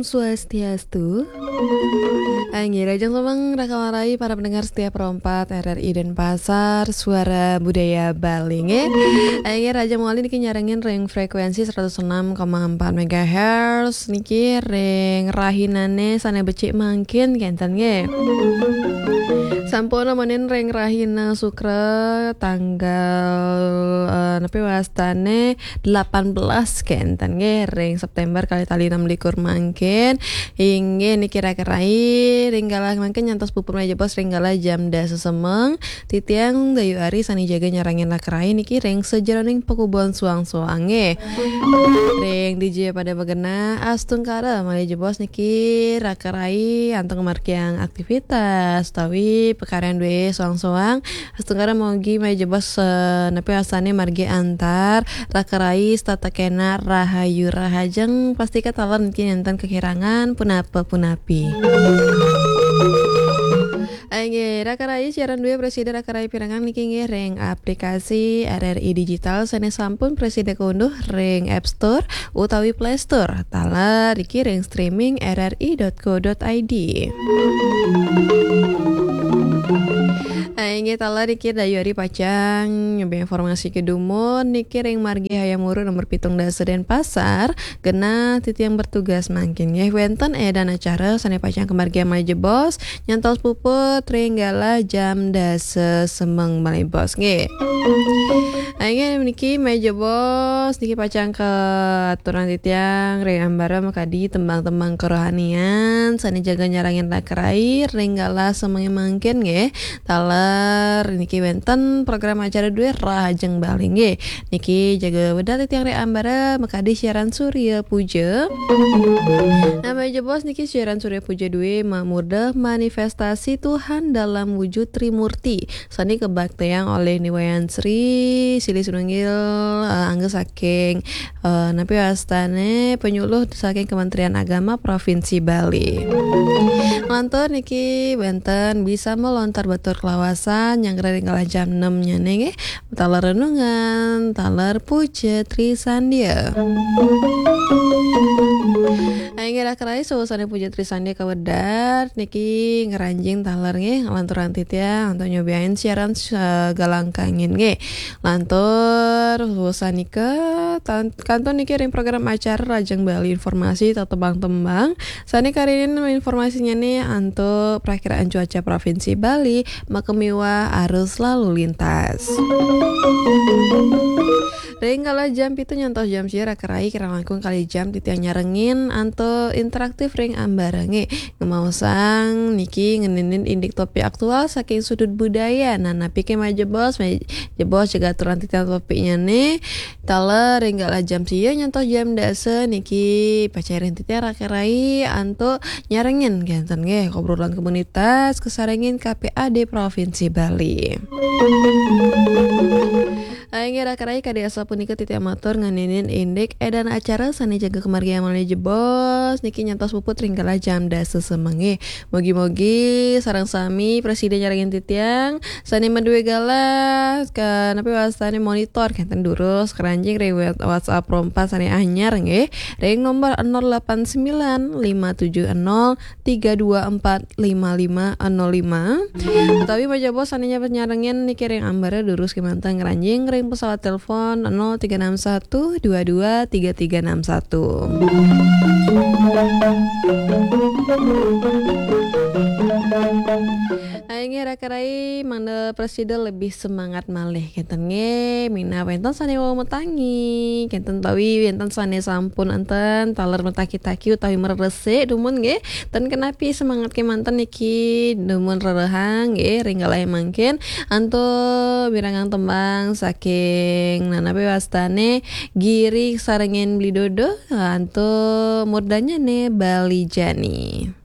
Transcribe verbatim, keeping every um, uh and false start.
Swastiastu. Inggih, rahajeng semeng raka marai para pendengar setia Pro empat R R I Denpasar, Suara Budaya Bali, nggih. Inggih, rahajeng malih niki nyarengin ring frekuensi seratus enam koma empat megahertz niki ring rahinane sane becik mangkin kenten, nggih. Sampun nemenin ring rahina Sukra tanggal, eh, napi wastane delapan belas kenten, nggih, ring September kalih tali enam likur mangkin. Inggih niki raka rai, ring galah mangkin nyantos puput malih jebos ring galah jam dasa semeng. Titiang Dayu Ari sane jaga nyarengin raka rai niki ring sajeroning pakubuan suang-suang, nggih. Ring dija pada magenah, astungkara malih jebos niki raka rai antuk ngamargiang aktivitas utawi pakaryan duwe suang-suang. Astungkara mogi malih jebos, eh, napi wastane margi antar raka rai setata kena rahayu rahajeng, pastika taler niki nenten kekirangan punapa punapi. Inggih, raka rai siaran duwe prasida raka rai pirengang niki nggih ring aplikasi R R I Digital sane sampun prasida kaunduh ring App Store utawi Play Store. Taler niki ring streaming R R I dot co dot I D. Inggih taler niki Dayu Ari pacang nyambi informasi kedumun niki ring margi Hayam Wuruk nomor pitung dasa Denpasar, genah titiang bertugas mangkin nggih wenten edan acara sane pacang kamargiang malih jebos nyantos puput ring galah jam dasa semeng malih jebos, nggih. Inggih niki malih jebos niki pacang katurang titiang ring ambara makadi tembang-tembang kerohanian sane jaga nyarengin raka rai ring galah semeng mangkin, nggih. Taler niki wenten program acara duwe rahajeng Bali, nggih. Niki jaga wedal titiang ring ambara makadi siaran Surya Puja. Nah malih jebos niki siaran Surya Puja duwe mamurda manifestasi Tuhan dalam wujud Trimurti sane kabaktayang olih Ni Wayan Sri, silih sinunggil, eh, angga saking, eh, napi wastane penyuluh saking Kementerian Agama Provinsi Bali. Nglantur niki wenten bisa melontar batur kelawasan nyanggra ring galah jam enam nyane, nggih. Taler renungan, taler puja Tri Sandia. Inggih raka rai, sawusane puja Tri Sandia kawedar niki ngranjing taler, nggih, nglanturang titiang antuk nyobiain siaran, eh, galang kangin, nggih. Lantur sawusan nika tan-, kantun niki ring program acara Rahajeng Bali Informasi, tembang-tembang sane karinin informasinyane antuk prakiraan cuaca Provinsi Bali, makamiwah arus lalu lintas. Ring galah jam pitu nyantos jam sia raka rai kirang langkung kalih jam titiang nyarengin antuk interaktif ring ambara, nggih. Ngemaosang niki ngeninin indik topik aktual saking sudut budaya. Nah, napi ke malih jebos, malih jebos jaga aturan titiang topiknyane. Taler ring galah jam sia nyantos jam dasa niki pacairin titiang raka rai antuk nyarengin kenten, nggih, obrolan komunitas kasarengin K P A D Provinsi Bali. Inggih raka rai, kadi asapunika titiang matur ngeninin indik edan acara sane jaga kamargiang malih jebos niki nyantos puput ring galah jam dasa semeng, nggih. Mugi-mugi sareng sami prasida nyarengin titiang sane madue galah ka napi wastane monitor kenten durus kranjing ring web-, WhatsApp Pro empat sane anyar, nggih, ring nomor nol delapan sembilan lima tujuh nol tiga dua empat lima lima nol lima. Utawi malih jebos sane nyarengin niki ring ambara durus kemanten ngranjing ring pesawat telepon nol tiga enam satu dua dua tiga tiga enam satu. Inggih raka rai, mangda prasida lebih semangat malih kenten, nggih. Minab wenten sane wau matangi kenten utawi wenten sane sampun enten taler mataki-taki utawi mareresik dumun, nggih. Ten kenapi, semangat kemanten niki dumun rerehang, nggih, ring galah mangkin antuk mirengang tembang saking nanapi wastane Giri sarengin Bli Dodo antuk murdanyane Bali Jani.